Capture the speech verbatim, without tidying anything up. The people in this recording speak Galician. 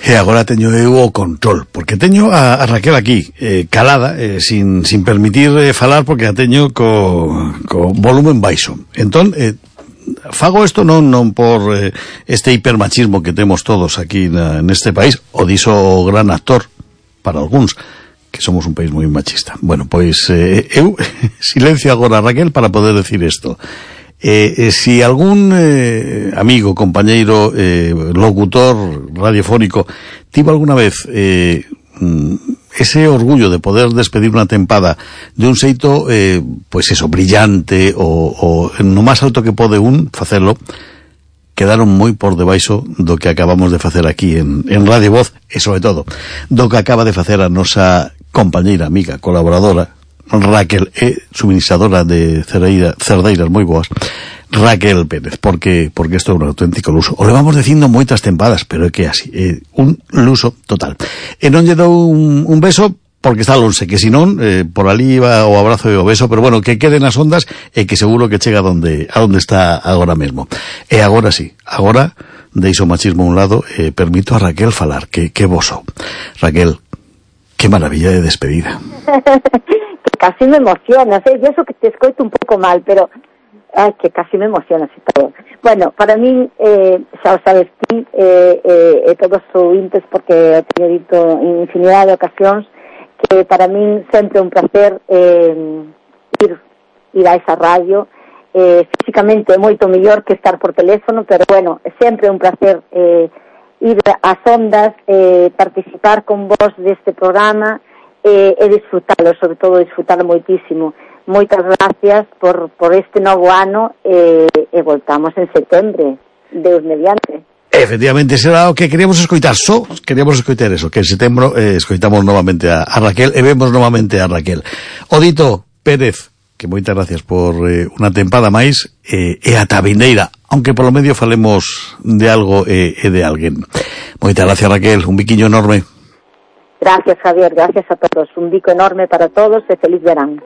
E agora teño eu o control, porque teño a, a Raquel aquí, eh, calada, eh, sin, sin permitir eh, falar, porque a teño co, co volumen baixo. Entón, eh, fago isto non, non por eh, este hipermachismo que temos todos aquí na, neste país, o diso o gran actor, para algúns, que somos un país moi machista. Bueno, pois eh, eu silencio agora, Raquel, para poder decir isto. Eh, eh, si algún eh, amigo, compañeiro, eh, locutor radiofónico tivo alguna vez eh, ese orgullo de poder despedir unha tempada de un xeito, eh, pois eso, brillante, o, o no máis alto que pode un facelo, quedaron moi por debaixo do que acabamos de facer aquí en, en Radio Voz, e sobre todo do que acaba de facer a nosa compañeira, amiga, colaboradora Raquel, é suministradora de cerdeira, cerdeiras moi boas, Raquel Pérez, porque porque isto é un auténtico luso. O levamos dicindo moitas tempadas, pero é que é así, é un luso total. E non lle dou un, un beso porque está lonxe, que senón eh, por ali iba o abrazo e o beso, pero bueno, que quede nas ondas e que seguro que chega a donde, a donde está agora mesmo. E agora sí, agora deixo o machismo a un lado e permito a Raquel falar, que, que voso. Raquel, que maravilla de despedida. Casi me emocionas, ¿eh? Yo eso que te escoito un pouco mal, pero ay, que casi me emocionas e todo. Bueno, para mí, eh, xa o sabes ti, eh, eh, todos os ouvintes, porque teño dito en infinidade de ocasións, que para mí sempre é un placer eh, ir, ir a esa radio. Eh, físicamente é moito mellor que estar por teléfono, pero bueno, sempre é un placer eh, ir ás ondas, eh, participar con vos deste programa, e, e disfrutalo, sobre todo disfrutalo moitísimo. Moitas gracias por, por este novo ano e, e voltamos en setembro, Deus mediante. Efectivamente, será o que queríamos escoitar, só queríamos escoitar eso, que en setembro eh, escoitamos novamente a, a Raquel e vemos novamente a Raquel. Odito Pérez, que moitas gracias por eh, unha tempada máis eh, e a tabineira, aunque polo medio falemos de algo e eh, de alguén. Moitas gracias, Raquel, un biquiño enorme. Gracias, Javier, gracias a todos. Un bico enorme para todos e feliz verán.